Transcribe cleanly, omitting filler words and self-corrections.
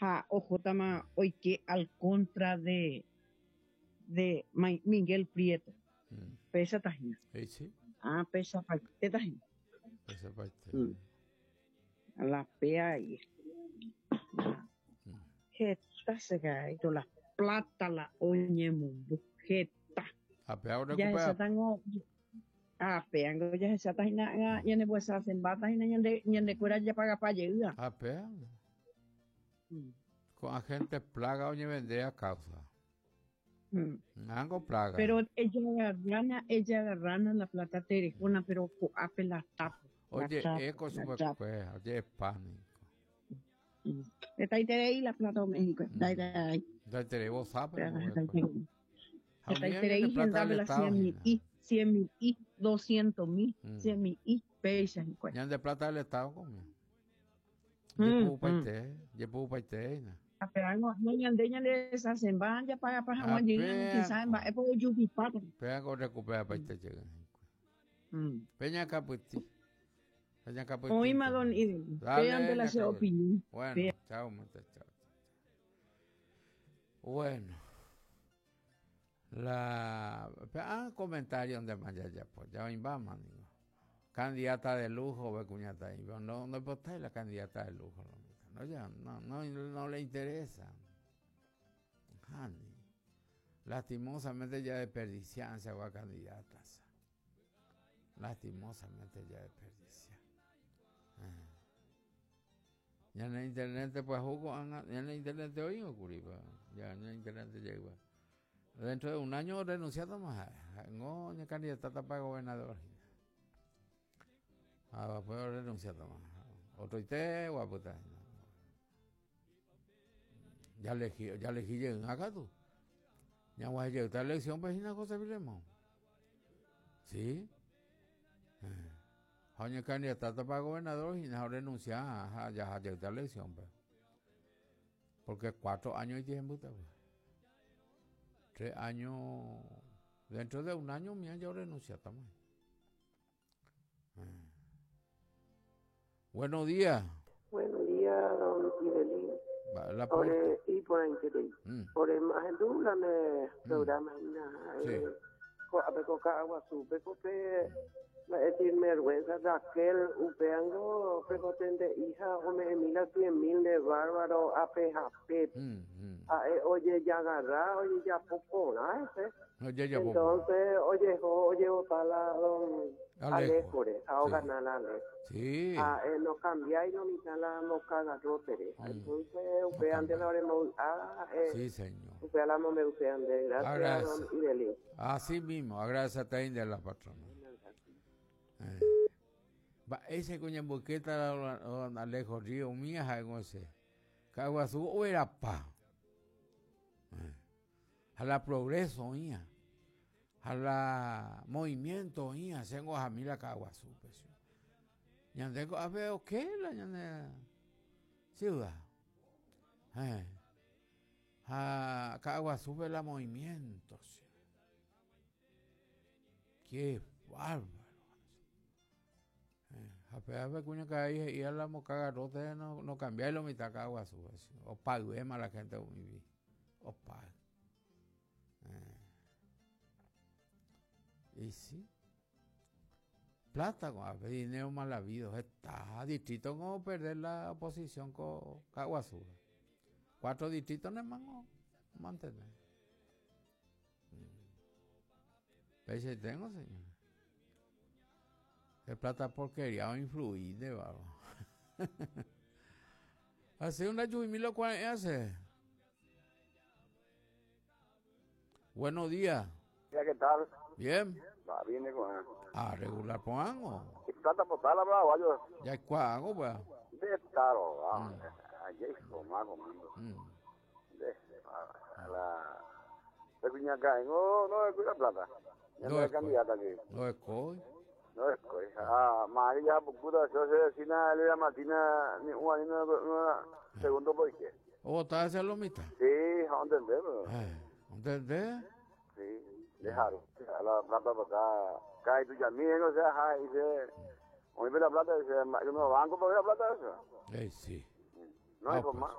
Ha ohótama oike al contra de de Miguel Prieto. Péichata hína. Éichi. Ah, peichapaitéta hína. Peichapaite. La péa ahí. Heta che karai, la plata la oñemombo. Heta. Ha péa orekupea. Jahechátango ha péango jahecháta hína ág̃a ñanembohesasẽmbáta hína ñande ñandekuéra japagapa jeýva. Ha péa. Ko'ã gente plaga oñevende a causa. Ángo plaga. Pero ejagarrána, ejagarrána la plata terehóna, pero ko'ápe la tapo. Oje'e ko chupekuéra, oje'epa niko. Hetaiterei la plata ome'ẽ hikuái. Hetaiterei. Hetaiterei vosápe. Hetaiterei hendápe la cien mil, cien mil, doscientos mil, cien mil, péicha hikuái. Ñande plata del Estado komia. Jepu'upaite, jepu'upaite hína. Ha pévango ñande ñaneresasẽmba japagapa hag̃ua jey quizás mba'épa ojupipáta. Pévango orecuperapaite jey hikuái. Peña Capytí. Peña Capytí. Oĩma don Idel. Péante la che opinión. Bueno, chao, chao. Bueno. La ah, comentario donde más jajapo, ya oĩmbáma ningo. Candidata de lujo pe kuñataĩ, pero no ndoipotái la candidata de lujo. No, ya, no, no, no le interesa. Hani. Lastimosamente ya desperdician esa candidatas. Lastimosamente ya desperdician. Ah. Ñane intendente pyahu ko'ág̃a, ñane intendente oĩvo kuri, ya ñane intendente jeýva. Dentro de un año orrenunciátama ha'e, ha'éngo oñekandidatáta para gobernador hína. Ha después orrenunciátama. Otroite guapyta hína. Ya elegí, ya elegí jeýna katu. Ñaguahẽ jeýta elección-pe hína José Filemón. Sí. Eh. Ha oñekandidatáta para gobernador hína ha orrenuncia ha jaha jeýta elección-pe. Porque cuatro años ijehembýta pues. Tres años, dentro de un año mía ya orrenunciátama. Eh. Buenos días. Buenos días, don Idelín. La puerta. Ore iporãiterei. Ore ahendu la ne programa hína. Sí. Ko'ápe ko Ka'aguasúpe ko pe mba'e sinvergũenza Raquel upéango pekotende'i ha ome'ẽmi la cien mil nde bárbaro ape ha pépe. Ha'e ojejagarra ojejapo porã hese. Ojejapo porã. Entonces ojeho ojevota la don Alejo. Alejo-re ha Sí. ogana la Alejo. Sí. Ha'e nokambiái lo mitã la mbokagarrótere. Entonces upévante la oremovy'a ha'e Sí, señor. upéva la mombe'use nde. Gracias, Agradece. don Idelín. Así mismo, agradece a India la patrona. Eh. Mba'éicha ko ñamboykéta la don Alejo Río umía ha'éngo che. Ka'aguasu overapa. Eh. Ha la progreso oĩha. Ha la movimiento oĩha, chéngo ahami la Ka'aguasúpe. Ñande ko'ápe oke la ñane ciudad. Eh. Ha Ka'aguasúpe la movimiento. Qué bárbaro. Eh, ha péva pe kuñakarai he'i a la mokagarróte no, no cambiái lo mitã Ka'aguasúpe. Opayvéma la gente ovivi. Opay. Eh. Y sí. Plata ko'ápe, dinero mal habido. Heta distrito ko perder la oposición ko Ka'aguasúpe. Cuatro distritos nemango mantener. Peichaiténgo, señor. Pe plata porquería oinflui nde bárbaro. Así una lluvia lo cual hace. Buenos días. Ya, ¿qué tal? Bien. Va bien, con Ah, regular pongo. ¿Qué plata por tal, bravo? Ya cuago, pues. De taro, ah. Ayer, mago, mando. De a la de Cuñacá, no, no es cuida plata. Ya no es candidata aquí. No es coi. No es coi. Ah, María, puta, yo se vecina Elena Martina, ni una, ni una, una, segundo por qué. ¿O está hacia lo mitad? Sí, a entender, pero. ¿Entender? Sí, dejaron. A la plata para acá. Cae tu llamien, o sea, ajá, y dice, hoy ve la plata, dice, yo no banco para ver la plata eso. Ey, sí. No, Ah, hijo, pues. más.